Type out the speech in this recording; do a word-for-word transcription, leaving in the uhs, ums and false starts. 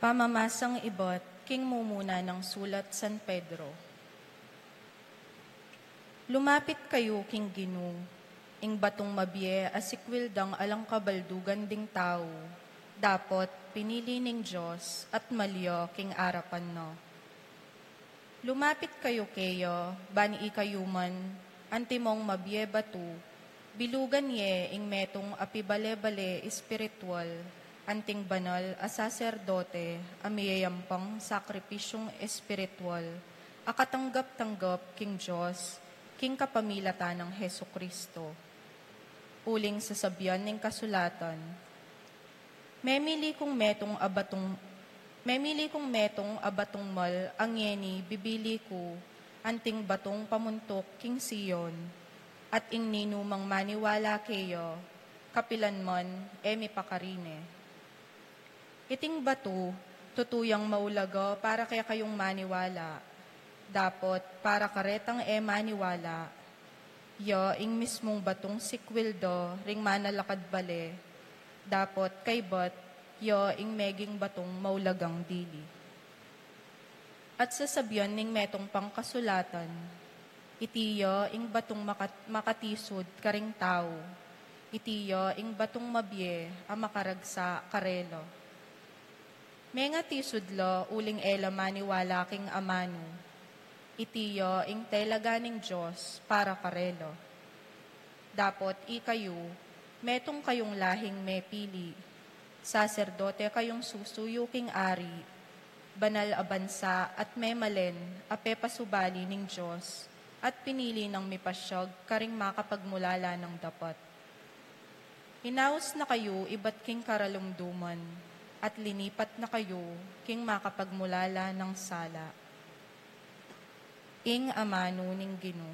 Pamamasang ibat king mumuna nang sulat San Pedro. Lumapit kayu king Ginu, ing batung mabie a sikwil dang alang kabaldugan ding tau, dapot pinili ning Dios at malya king arapan na. Lumapit kayu keya, ban ikayu man, antimong mabie batu, bilugan ye ing metung a pibale-bale espiritual, anting banal a saserdote a miyayampang sakripisyung espiritual a katanggap-tanggap king Dios, king kapamilatan nang Jesucristo. Uling sasabian ning kasulatan, Memili kung metung a batung, memili kung metung a batung mal a ngeni bibili ku, anting batung pamuntuk king Sion, at ing ninumang maniwala keya, kapilan man e mipakarine. Iting batu, tutu yang maulaga para kekayung maniwala, dapot para karetang e maniwala, ya ing mismung batung sikwil da ring manalakad bale, dapot kaybat ya ing meging batung maulagang dili. At sasabian ning metung pang kasulatan, iti ya ing batung makat-, makatisud karing tau, iti ya ing batung mabie a makaragsa karela. Mengatisud la uling e la maniwala king amanu, iti ya ing telaga ning Dios para karela. Dapot ikayu, metung kayung lahing mepili, saserdote kayung susuyu king ari, banal a bansa at memalen a pepasubali ning Dios, at pinili nang mipasyag karing makapagmulala nang dapat. Inaus na kayu ibat king karalumduman, at linipat na kayu king makapagmulala nang sala. Ing amanu ning Ginu.